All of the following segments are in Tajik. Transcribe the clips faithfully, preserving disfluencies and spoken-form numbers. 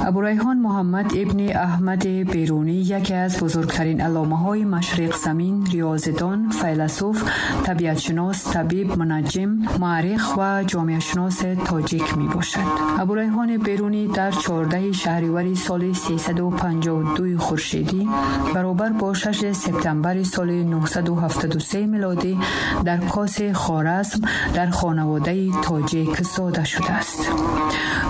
Абурайҳон Муҳаммад ибни Аҳмад Берунӣ яке аз бузургтарин алломаҳои машриқзамин, риёзидон, файласуф, табиатшинос, табиб, мунаҷҷим, муаррих ва ҷомеашиноси тоҷик мебошад. Абурайҳони Берунӣ дар чордаҳи шаҳривари соли сесаду панҷоҳу дуи хуршедӣ баробар бо шаши септембри соли нуҳсаду ҳафтоду се милодӣ дар Коси Хоразм дар хонаводаи тоҷик зода шудааст.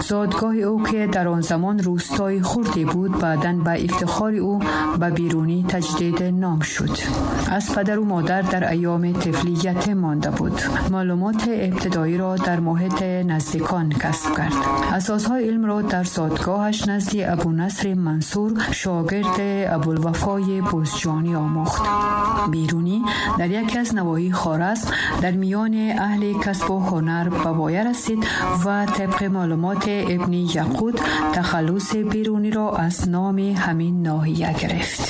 Зодгоҳи ӯ, ки дар он замон рӯстои хурде буд, баъдан ба ифтихори ӯ ба Берунӣ таҷдид ном шуд. Аз падару модар дар айёми тифлӣ ятим монда буд. Маълумоти ибтидоиро дар муҳити наздикон касб кард. Асосҳои илмро дар зодгоҳаш назди Абунасри Мансур, шогирди Абулвафои Бузҷонӣ омӯхт. Берунӣ дар яке аз навоҳии Хоразм дар миёни аҳли касбу ҳунар ба воя расид ва тибқи маълумоти ибни Яқут тахаллуси Беруниро аз номи ҳамин ноҳия гирифт.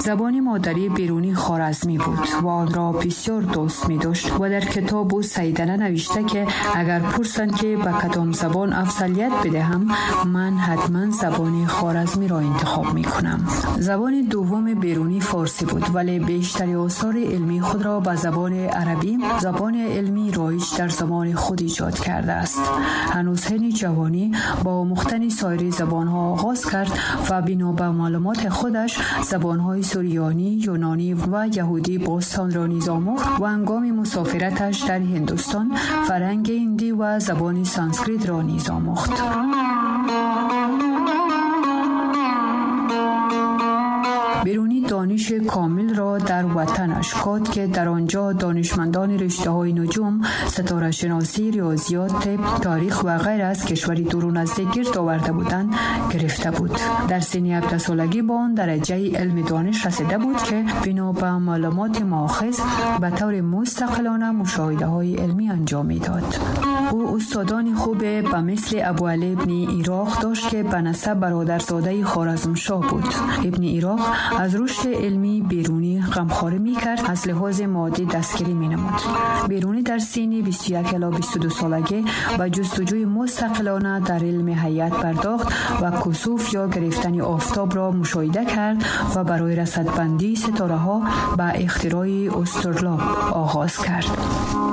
Забони модарии Берунӣ хоразмӣ буд ва онро бисёр дӯст медошт ва дар китобу Сайдала навишта, ки агар пурсанд, ки ба кадом забон афзалият бидиҳам, ман ҳатман забони хоразмиро интихоб мекунам. Забони дуввуми Берунӣ форсӣ буд, вале бештари осори илмии худро ба забони арабӣ, забони илмии роиҷ дар замони худ, эҷод кардааст. Ҳанӯз ҳини ҷавонӣ бо омӯхтани соири забонҳо оғоз кард ва бино ба маълумоти худаш забонҳои сурёнӣ, юнонӣ ва яҳудӣ бостонро низ омӯхт ва ҳангоми мусофираташ дар Ҳиндустон фарҳанги ҳиндӣ ва забони санскритро низ омӯхт. Берунӣ дониши комилро дар ватанаш код, ки дар он ҷо донишмандони риштаҳои нуҷум, ситорашиносӣ, риёзиёт, тиб, таърих ва ғайра аз кишвари дуру наздик гирд оварда буданд, гирифта буд. Дар синни ҳабдаҳсолагӣ ба он дараҷаи илми дониш расида буд, ки бино ба маълумоти маохиз ба таври мустақилона мушоҳидаҳои илмӣ анҷом медод. Ӯ устодони хубе ба мисли Абуалӣ ибни Ироқ дошт, ки ба насаб бародарзодаи Хоразмшоҳ буд. Ибни Ироқ аз рушди илмии Берунӣ ғамхорӣ мекард, аз лиҳози моддӣ дастгирӣ менамуд. Берунӣ дар синни бисту як ила бисту ду солагӣ ба ҷустуҷӯи мустақилона дар илми ҳайат пардохт ва кусуф ё гирифтани офтобро мушоҳида кард ва барои расадбандии ситораҳо ба ихтирои устурлоб оғоз кард.